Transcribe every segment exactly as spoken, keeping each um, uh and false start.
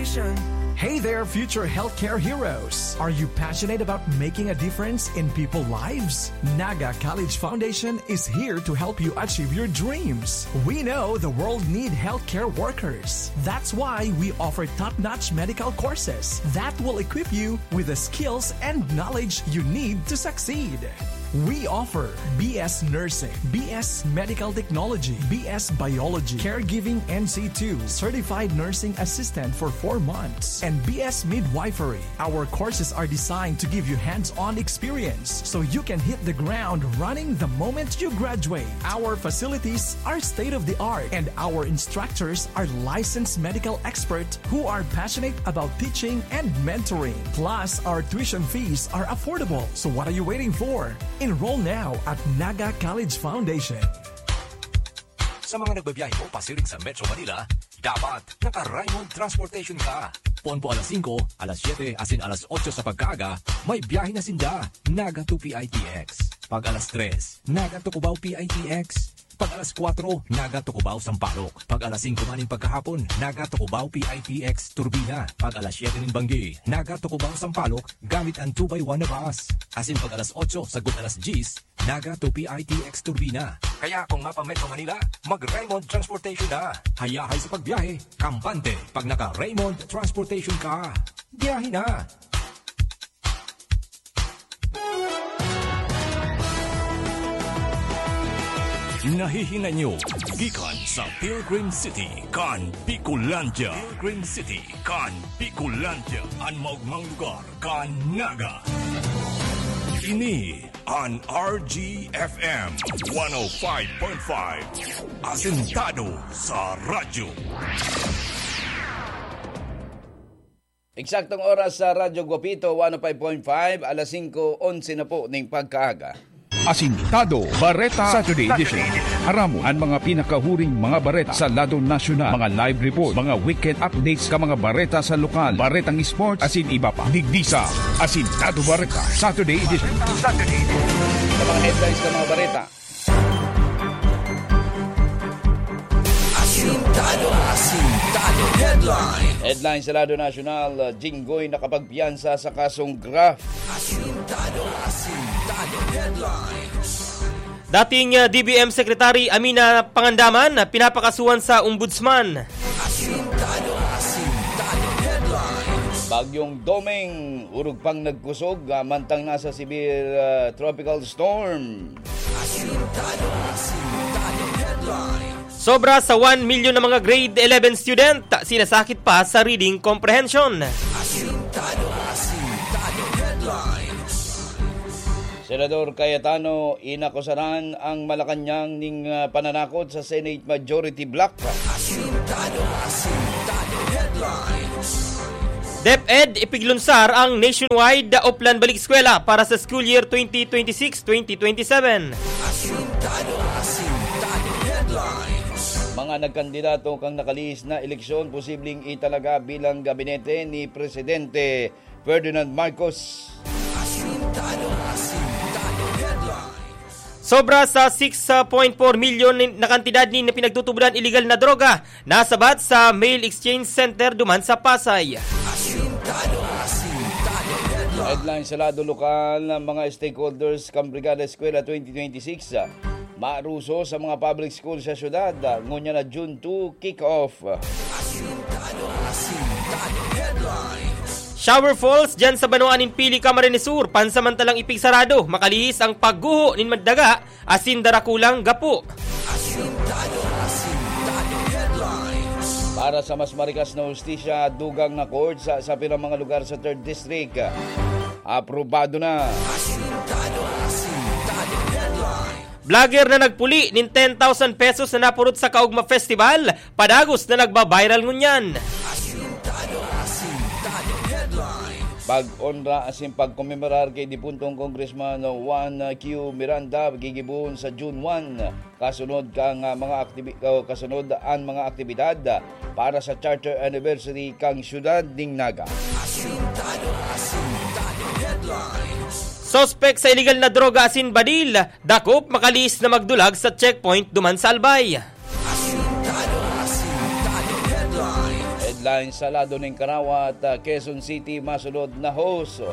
Hey there, future healthcare heroes! Are you passionate about making a difference in people's lives? Naga College Foundation is here to help you achieve your dreams. We know the world need healthcare workers. That's why we offer top-notch medical courses that will equip you with the skills and knowledge you need to succeed. We offer B S Nursing, B S Medical Technology, B S Biology, Caregiving N C two, Certified Nursing Assistant for four months, and B S Midwifery. Our courses are designed to give you hands-on experience so you can hit the ground running the moment you graduate. Our facilities are state-of-the-art, and our instructors are licensed medical experts who are passionate about teaching and mentoring. Plus, our tuition fees are affordable. So what are you waiting for? Enroll now at Naga College Foundation. Sa mga nagbabiyahe po pasiring sa Metro Manila, dapat naka-Raymond Transportation ka. Pon po alas singko, alas siyete, asin alas otso sa pagkaaga, may biyahe na sinda. Naga to P I T X. Pag alas tres, Naga to Cubao P I T X. Pag alas kwatro, Naga to Cubao Sampaloc. Pag alas singko man nin pagkahapon, Naga to Cubao P I T X Turbina. Pag alas siyete nin banggi, Naga to Cubao Sampaloc, gamit an two by one na bus. Asin pag alas otso sagkod alas dyes, Naga to P I T X Turbina. Kaya kung mapa-Metro Manila, mag-Raymond Transportation na. Hayahay sa pagbiyahe, kampante. Pag naka-Raymond Transportation ka, biyahe na. Nahihinay nyo gikan sa Pilgrim City kan Bicolandia. Pilgrim City kan Bicolandia, an maogmang lugar kan Naga. Ini an R G F M one oh five point five, asentado sa radyo. Eksaktong oras sa Radyo Guapito, one oh five point five, alas singko onse na po ning pagkaaga. Asintado Bareta Saturday Edition. Aramon an mga pinakahuring mga bareta sa lado nasyonal, mga live report, mga weekend updates ka mga bareta sa lokal, baretang sports, asin iba pa. Digdi sa Asintado Bareta Saturday Edition. Sa mga headlines ng mga bareta. Asintado, Asintado Headline. Headline sa lado nasyonal, uh, Jinggoy nakapagpiyansa sa kasong graft. Asintado, Asintado Headlines. Dating, uh, D B M Secretary Amina Pangandaman na pinapakasuhan sa Ombudsman. Asintado, Asintado Headlines. Bagyong Doming, urog pang nagkusog, ah, mantang nasa severe, ah, tropical storm. Asintado, Asintado Headlines. Sobra sa one milyon na mga grade eleven student, sinasakit pa sa reading comprehension. Asintado, Asintado Headlines. Senador Cayetano inakusaran ang Malacañang ning, ah, pananakot sa Senate Majority Bloc. Asintado, Asintado Headlines. DepEd ipiglunsar ang nationwide Oplan Balik Eskwela para sa school year twenty twenty-six twenty twenty-seven. Asintado, Asintado Headlines. Mga nagkandidato kan nakalihis na eleksyon posibleng italaga bilang gabinete ni Presidente Ferdinand Marcos. Asintado, Asintado Headlines. Sobra sa six point four milyon na kantidad nin pinagtutubodan ilegal na droga nasabat sa mail exchange center duman sa Pasay. Asintado, Asintado Headlines. Headline sa lado lokal, ang mga stakeholders kan Brigada Eskwela twenty twenty-six, ah, maruso sa mga public school sa syudad, ah, ngunyan na June two kick-off. Asintado, Asintado Headlines. Shower falls dyan sa banwaan nin Pili, Camarines Sur, pansamantalang ipigsarado, makalihis ang pagguho nin madaga asin darakulang gapo. Asintado, Asintado Headlines. Para sa mas marikas na hustisya, dugang na court sa, sa pirang mga lugar sa Third District. Aprobado na. Asintado, Asintado Headlines. Vlogger na nagpuli nin ten thousand pesos na napurot sa Kaugma Festival, padagos na nagba-viral ngunyan. Asintado, Asintado Headlines. Pag-onra asin pagkomemorar ki dipuntong Congressman Juan Q Miranda gigibohon sa June one, kasunod kan, ah, mga aktibi-, o kasunod an mga aktibidad para sa Charter Anniversary kan siyudad nin Naga. Asintado, Asintado Headlines. Suspek sa iligal na droga asin badil, dakop makalihis na magdulag sa checkpoint duman sa Albay. Asintado, Asintado Headlines. Lain sa lado ning Karawat, ah, Quezon City masunod na host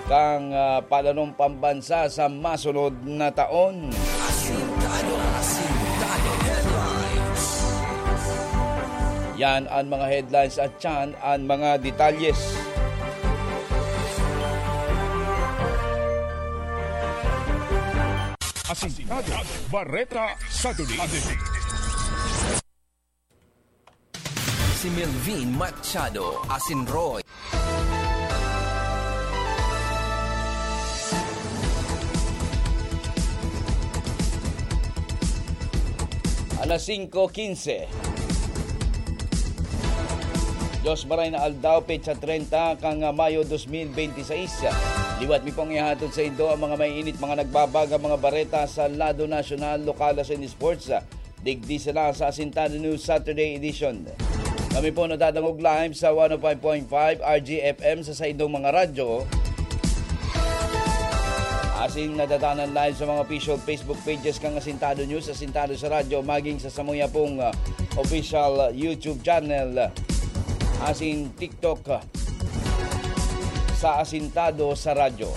kan, ah, Palanong Pambansa sa masunod na taon. Asintado, asintado headlines. Yan ang mga headlines at yan ang mga detalyes. Asintado, Bareta sa Duli. Si Melvin Machado, asin Roy. Alas singko quince. Diyos maray na aldaw, petsa trenta kan Mayo dos mil benti sais. Liwat mi pong ihatod sa indo ang mga mainit, mga nagbabagang mga bareta sa lado nasyonal, lokal asin sports. Digdi sila sa Asintado News Saturday Edition. Kami po nadadangog live sa one oh five point five R G F M sa saindong mga radyo. Asin nadadanan live sa mga official Facebook pages kan Asintado News, Asintado sa Radyo, maging sa samuya pong, ah, official YouTube channel, asin TikTok, ah, sa Asintado sa Radyo.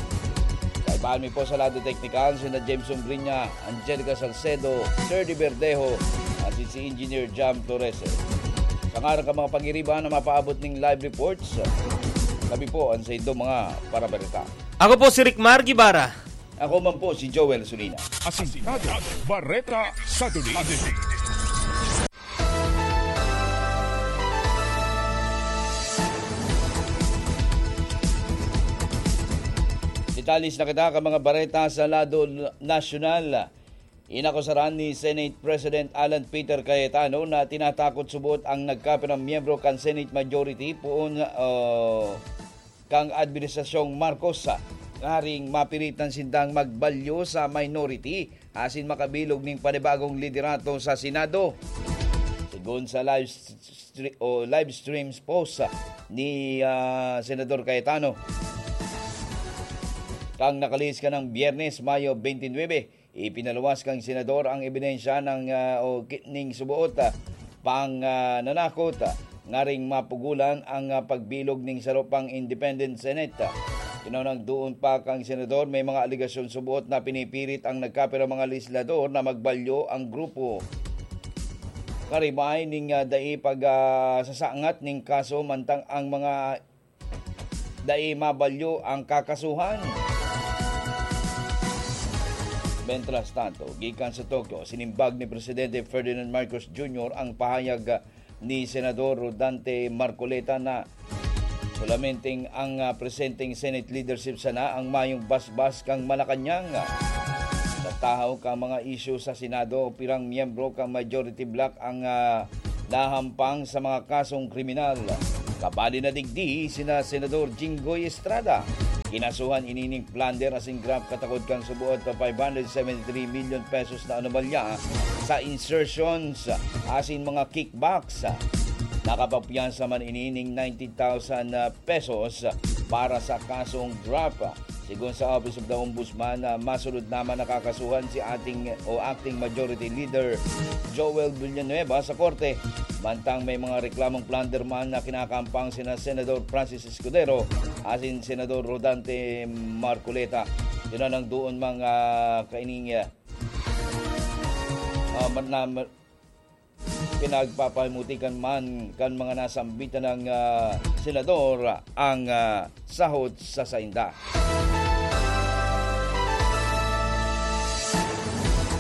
Kaibahan mi po sa lado teknikal, sina Jameson Brinya, Angelica Salcedo, Sir Di Verdejo, asin si Engineer Jam Torres. Sa ngaran kan mga pagiriba na mapaabot ning live reports, kami po ang sa indo mga parabarita. Ako po si Rick Mar Guevara. Ako man po si Joel Sulina. Asintado, Bareta sa Duli. Detalyes na kita kan mga bareta sa lado nasyonal. Inakusaran ni Senate President Alan Peter Cayetano na tinatakot subot ang nagkapirang miyembro kan Senate Majority poon, ah, kan Administrasyong Marcos, ah, ngaring mapiritan sindang magbalyo sa minority asin makabilog nin panibagong liderato sa Senado. Segun sa live stre-, o live streams post, ah, ni, ah, Senador Cayetano, kan nakalihis kanang Biyernes, Mayo twenty-nine, ipinaluwas kan Senador ang ebidensya ng, ah, o ki-, ning suboot, ah, pang, ah, nanakot, ah, ngaring mapugulan ang, ah, pagbilog ning saro pang independent Senate. Kinunang doon pa kang Senador, may mga alegasyon suboot na pinipirit ang nagkapirang mga legislador na magbalyo ang grupo. Karibay ning, ah, dai pag, ah, sasangat ning kaso, mantang ang mga dai mabalyo ang kakasuhan. Mientras tanto, gikan sa Tokyo, sinimbag ni Presidente Ferdinand Marcos Junior ang pahayag, ah, ni Senador Rodante Marcoleta na solamente ang, ah, presenteng Senate leadership sana ang mayong basbas kan Malacañang. Sa tahaw kan mga isyu sa Senado, pirang miyembro kan majority bloc ang, ah, nahampang sa mga kasong kriminal. Kabali na digdi sina Senador Jinggoy Estrada. Kinasuhan ini ning plunder asin graft katakod kan suboot pa five hundred seventy-three million pesos na anomalya sa insertions asin mga kickbacks. Nakapapiyansa man ini ning ninety thousand pesos para sa kasong graft. Segun sa Office of the Ombudsman, ah, masunod naman na kakasuhan si ating o acting majority leader Joel Villanueva sa korte. Mantang may mga reklamong plunder man na kinakampang sina Senador Francis Escudero asin Senador Rodante Marcoleta. Yun ang doon mga kaining, ah, ah, man-, na, pinagpapamutikan man kan mga nasambitan ng, ah, senador ang, ah, sahod sa sainda.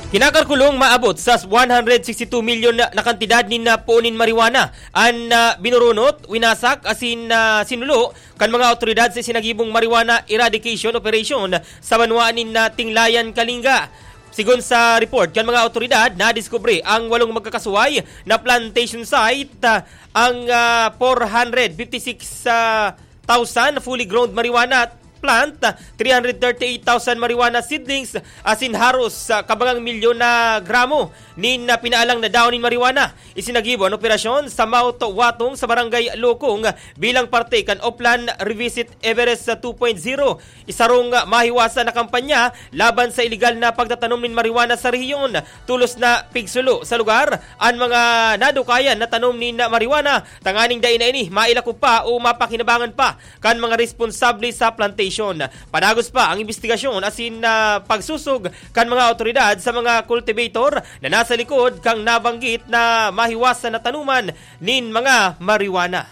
Kinakalkulong maabot sa one hundred sixty-two million na, na kantidad nin, ah, puon nin marijuana an, ah, binurunot, winasak asin, ah, sinulo kan mga awtoridad sa isinagibong marijuana eradication operation sa banwaan nin, ah, Tinglayan, Kalinga. Segun sa report kan mga awtoridad, nadiskubre ang walong magkakasuway na plantation site, ah, ang, ah, four hundred fifty-six, ah, thousand fully grown marijuana at plant, three hundred thirty-eight thousand marijuana seedlings, asin haros sa kabangang milyon na gramo nin, ah, pinaalang na dahon nin marijuana. Isinagibo an operasyon sa Mount Watong sa Barangay Lukong bilang parte kan Oplan Revisit Everest sa two point zero, isarong mahiwasan na kampanya laban sa iligal na pagtatanom nin marijuana sa rehiyon. Tolos na pigsulo sa lugar an mga nadukayan na tanom nin marijuana, tanganing dai na ini mailako pa o mapakinabangan pa kan mga responsable sa plantation. Padagos pa ang imbestigasyon asin, ah, pagsusog kan mga awtoridad sa mga cultivator na nasa likod kan nabanggit na mahiwasan na tanuman nin mga marijuana.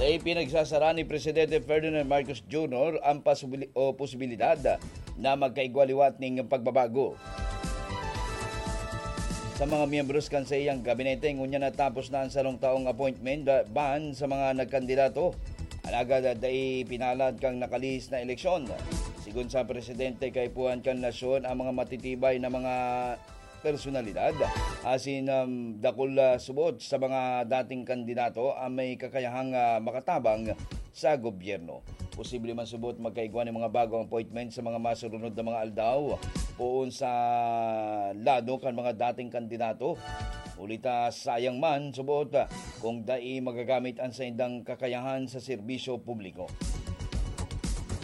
Dai pinagsasara ni Presidente Ferdinand Marcos Junior ang pasubili-, o posibilidad na magkaigwa liwat ning pagbabago sa mga miyembros kan saiyang gabinete. Ngunyan natapos na ang sarong taong appointment ban sa mga nagkandidato, alagad dai pinalad kan nakalihis na eleksyon. Sigon sa presidente, kaipuhan kan nasyon ang mga matitibay na mga personalidad asin, um, dakul, ah, subot sa mga dating kandidato ang may kakayahang, ah, makatabang sa gobyerno. Posible man subot magkaigwa nin mga bagong appointment sa mga masurunod na mga aldaw, poon sa lado kan mga dating kandidato. Huli ta sayang man subot, ah, kung dai magagamit ang saindang kakayahan sa serbisyo publiko.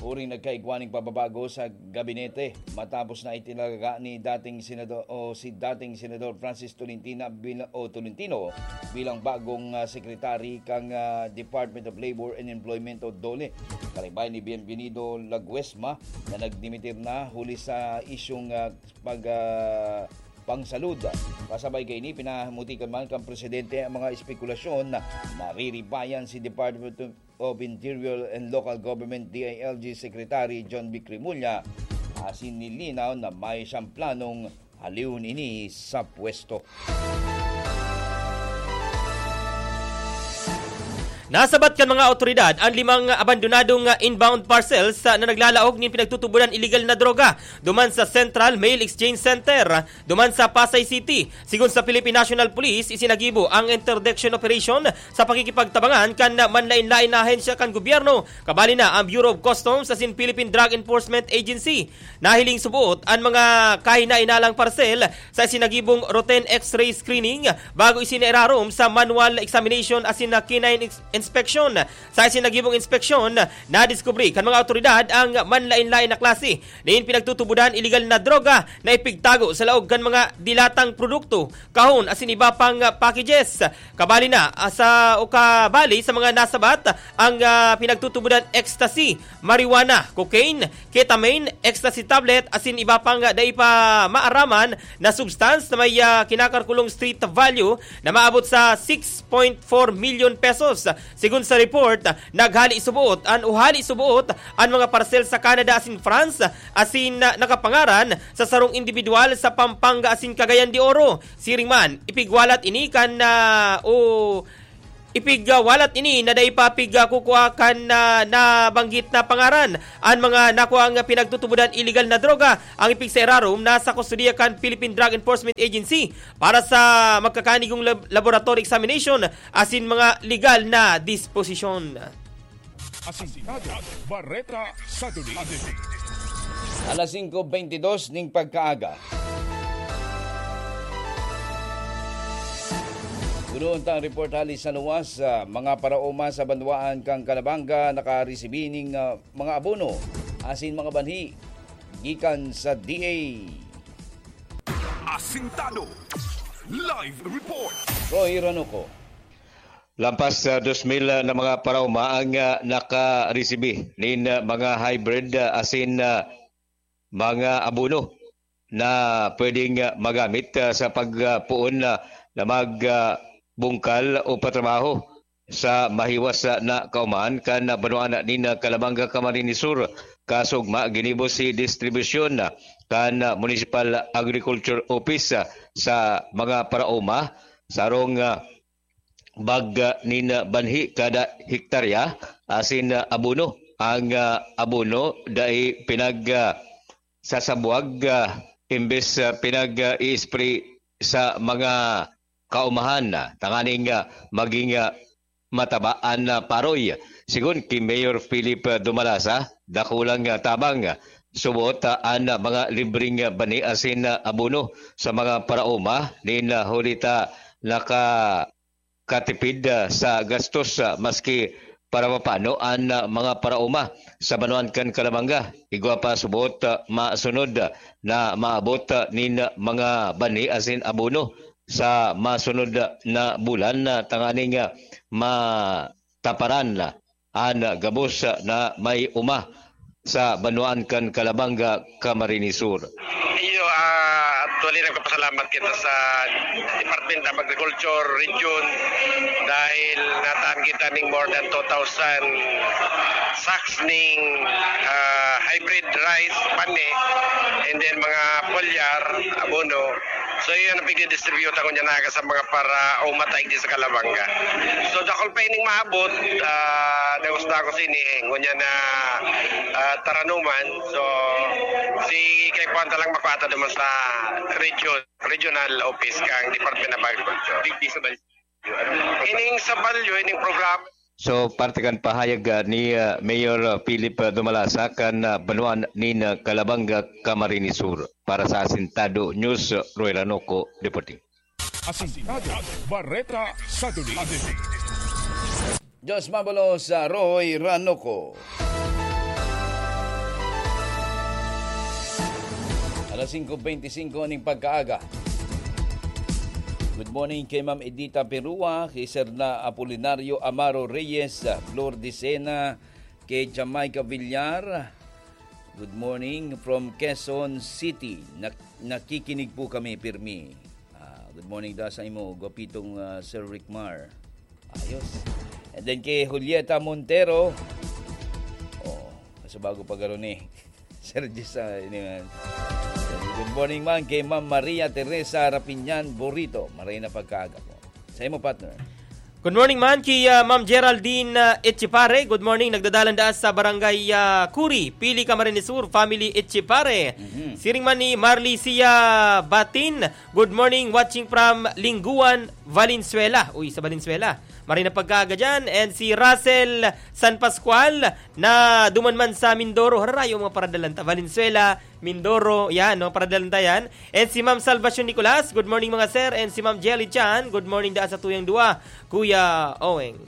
Uring nagkaigwa nin pababago sa gabinete matapos na itinalaga ni dating senador o si dating Senador Francis Tolentino bil-, o Tolentino bilang bagong, ah, secretary kan, ah, Department of Labor and Employment o DOLE. Karibay ni Bienvenido Laguesma na nagdimitir na huli sa isyung, ah, pag, ah, pangsalud. Kasabay kaini, pinamutikan man kan presidente ang mga espekulasyon na nariribayan si Department of Interior and Local Government, D I L G, Secretary John Vic Remulla, asin nilinaw na may siyang planong halihon ini sa pwesto. Nasabat kan mga awtoridad an limang abandonadong inbound parcels na naglalaog nin pinagtutubodan iligal na droga duman sa Central Mail Exchange Center, duman sa Pasay City. Sigon sa Philippine National Police, isinagibo ang interdiction operation sa pakikipagtabangan kan manlaen-laen na ahensya kan gobyerno, kabali na ang Bureau of Customs asin Philippine Drug Enforcement Agency. Nahiling suboot an mga kahinainalang parsel sa isinagibong routine X-ray screening bago isinairarom sa manual examination asin na canine ex-, inspection. Sa isinagibong inspeksyon, nadiskubre kan mga awtoridad ang manlaen-laen na klase nin pinagtutubodan iligal na droga na ipigtago sa laog kan mga dilatang produkto, kahon asin iba pang, ah, packages. Kabali na, ah, sa, o kabali sa mga nasabat ang, ah, pinagtutubodan ecstasy, marijuana, cocaine, ketamine, ecstasy tablet asin iba pang, ah, dai pa maaraman na substance na may, ah, kinakalkulong street value na maabot sa six point four million pesos. Sigon sa report, naghali suboot an o hali suboot an mga parsel sa Canada asin France, asin, ah, nakapangaran sa sarong indibidwal sa Pampanga asin Cagayan de Oro. Siring man, ipigwalat ini kan, ah, o ipigwalat ini na dai pa pigkukua kan, ah, nabanggit na pangaran. An mga nakuang pinagtutubodan iligal na droga ang ipigsairarom na sa kustodiya kan Philippine Drug Enforcement Agency para sa magkakanigong lab-, laboratory examination asin mga legal na disposisyon. Asintado, Bareta sa Duli. Alas singko beintidos ning pagkaaga. Punoon ta ang report hali sa luwas. Ah, mga paraoma sa banwaan kan Calabanga nakaresibi ning, ah, mga abono asin mga banhi gikan sa D A. Asintado Live Report. Roy Ranuco. Lampas sa dos mil na mga paraoma ang, ah, nakaresibi nin, ah, mga hybrid, ah, asin, ah, mga abono na pwedeng, ah, magamit, ah, sa pagpoon na, na mag, ah, bungkal o patrabaho sa mahiwas, ah, na kaumahan kan, ah, banwaan nin, ah, Calabanga, Camarines Sur, kasugma ginibo si distribusyon, ah, kan, ah, Municipal Agriculture Office, ah, sa mga paraoma, sarong, ah, bag, ah, nin, ah, banhi kada hektarya, asin, ah, abono. Ang, ah, abono dai pinag, ah, sasabwag, ah, imbes, ah, pinag-i-spray sa mga kaumahan, ah, tanganing, ah, maging, ah, mataba an, ah, paroy. Sigon ki Mayor Philip, ah, Dumalasa, dakulang, ah, tabang, ah, subot, ah, an, ah, mga libreng, ah, bani asin, ah, abono sa mga paraoma nin, ah, huli ta nakakatipid, ah, sa gastos, ah, maski para mapano an, ah, mga paraoma sa banwaan kan Calabanga. Igwa pa subot, ah, masunod, ah, na maabot, ah, nin, ah, mga bani asin abono sa masunod, ah, na bulan, ah, tanganing, ah, mataparan, ah, an, ah, gabos, ah, na may uma sa banwaan kan Calabanga, Camarines Sur. Iyo, ah, actually, nagpapasalamat kita sa Department of Agriculture Region dahil nataan kita ning more than two thousand sacks ning, ah, hybrid rice, pane, and then mga foliar, abono. So, iyan ang pigdidistribute ako niya naga sa mga paraoma ta igdi sa Calabanga. So, dakul pa ining maabot, ah, dagos-dagos ini, eh, ngunyan na, ah, taranuman. So, si kay Puan ta lang makuha ta duman sa region, regional office kang Department of Agriculture. Digdi sa Balyo. Ining sa Balyo, ining programa. So, parte kan pahayag, ah, ni, ah, Mayor, ah, Philip, ah, Dumalasa kan, ah, banwaan nin, ah, Calabanga, Camarines Sur. Para sa Asintado News, Roy Ranoco, reporting. Asintado, Bareta sa Duli. Diyos mabulos sa Roy Ranoco. Alas singko beintisinko ning pagkaaga. Good morning kay Ma'am Edita Perua, kay Sir na Apolinario Amaro Reyes, Flor Dicena, kay Jamaica Villar. Good morning from Quezon City. Nak-, nakikinig po kami, pirmi. Ah, good morning da sa imo, gwapitong, ah, Sir Rickmar. Ayos. And then kay Julieta Montero. Oh, sa bago pa garo ni Sir Jis, ah, ini man. Good morning man kay Ma'am Maria Teresa Rapinyan Burrito. Maray na pagkaaga po. Sa imo, partner. Good morning man ki, ah, Ma'am Geraldine, ah, Echepare. Good morning. Nagdadalan daa sa Barangay, ah, Curi, Pili, Camarines Sur, family Echepare. Mhm. Siring man ni Marlicia Batin. Good morning, watching from Lingguan, Valenzuela. Uy, sa Valenzuela. Maray na pagkaaga dyan. And si Russell San Pascual na duman man sa Mindoro. Harayo mga paradalan ta. Valenzuela, Mindoro, yan, no? Paradalan ta yan. And si Ma'am Salvacion Nicolas, good morning, mga sir. And si Ma'am Jelly Chan, good morning daa sa tuyang duwa, Kuya Oweng.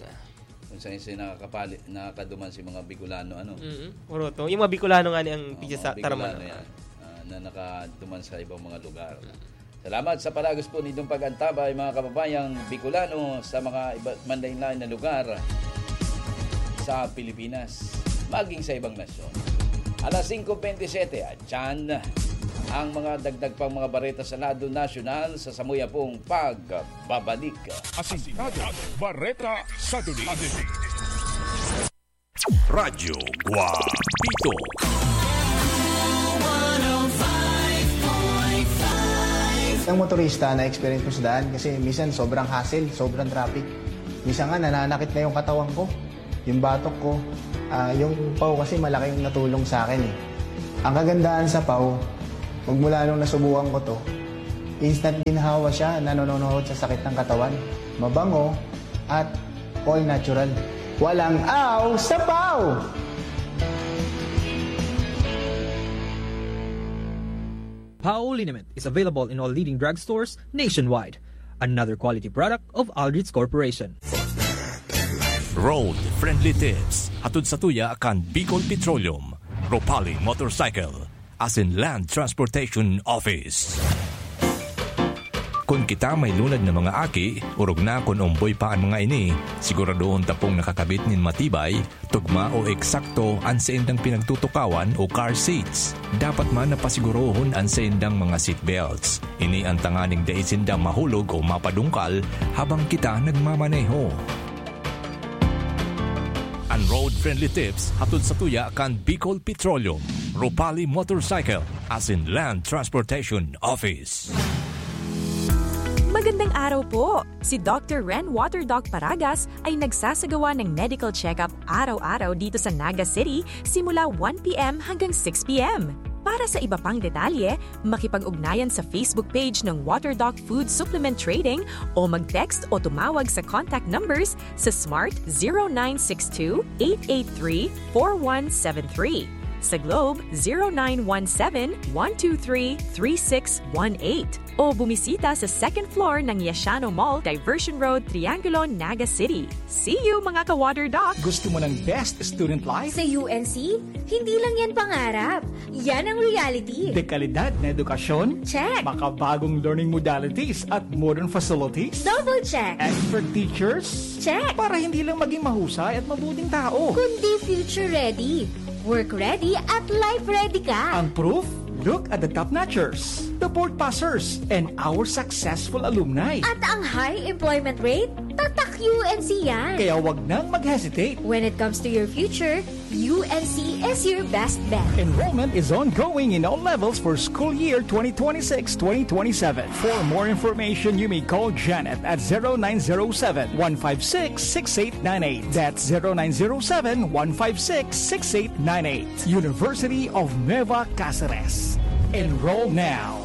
Kung saan sila nakakapali-, nakakaduman si mga Bicolano, ano? Mm, puro to. Yung mga Bicolano nga ni ang Oo, pizza mga sa Bicolano tarman. Yan, ah, na nakaduman sa ibang mga lugar. Mm. Salamat sa palagos po nitong pag-antabay, mga kababayang Bicolano, sa mga iba man lain-lain na lugar sa Pilipinas, maging sa ibang nasyon. Alas singko bentisiete, at yan ang mga dagdag pang mga bareta sa lado nasyonal sa samuya pong pagbabalik. Asintado, Bareta sa Duli. Radyo Guapito. Ang motorista na experience ko sa daan kasi minsan sobrang hassle, sobrang traffic. Minsan nga nananakit na yung katawan ko, yung batok ko, ah, yung paw kasi malaking natulong sa akin eh. Ang kagandahan sa paw, magmula nung nasubukan ko to, instant ginhawa siya, nanononohod sa sakit ng katawan. Mabango at all natural. Walang aw sa paw! Pao liniment is available in all leading drugstores nationwide. Another quality product of Aldrich Corporation. Road Friendly Tips. Hatod sa tuya kan Bicol Petroleum, Ropali Motorcycle, asin Land Transportation Office. Kun kita may lunad na mga aki, orog na kun omboy pa an mga ini, siguradohon ta pong nakakabit nin matibay, tugma o eksakto an saindang pinagtutukawan o car seats. Dapat man na pasigurohon an saindang mga seat belts. Ini an tanganing dai sinda mahulog o mapadungkal habang kita nagmamaneho. An Road Friendly Tips hatod sa tuya kan Bicol Petroleum, Ropali Motorcycle, asin Land Transportation Office. Magandang araw po! Si Doctor Ren Water Doc Paragas ay nagsasagawa ng medical check-up araw-araw dito sa Naga City simula one P M hanggang six P M. Para sa iba pang detalye, makipag-ugnayan sa Facebook page ng Waterdoc Food Supplement Trading o mag-text o tumawag sa contact numbers sa Smart zero nine six two, eight eight three, four one seven three, sa Globe zero nine one seven, one two three, three six one eight, o bumisita sa second floor ng Yashano Mall, Diversion Road, Triangulo, Naga City. See you, mga ka-Water Doc! Gusto mo ng best student life? Sa U N C, hindi lang yan pangarap. Yan ang reality. Dekalidad na edukasyon? Check. Makabagong learning modalities at modern facilities? Double check. Expert teachers? Check. Para hindi lang maging mahusay at mabuting tao. Kundi future ready, work ready at life ready ka. Ang proof? Look at the top notchers, the board passers, and our successful alumni. At ang high employment rate? Tatak U N C yan. Kaya wag nang mag-hesitate. When it comes to your future, U N C is your best bet. Enrollment is ongoing in all levels for school year twenty twenty-six twenty twenty-seven. For more information, you may call Janet at zero nine zero seven, one five six, six eight nine eight. That's zero nine zero seven, one five six, six eight nine eight. University of Nueva Cáceres. Enroll now.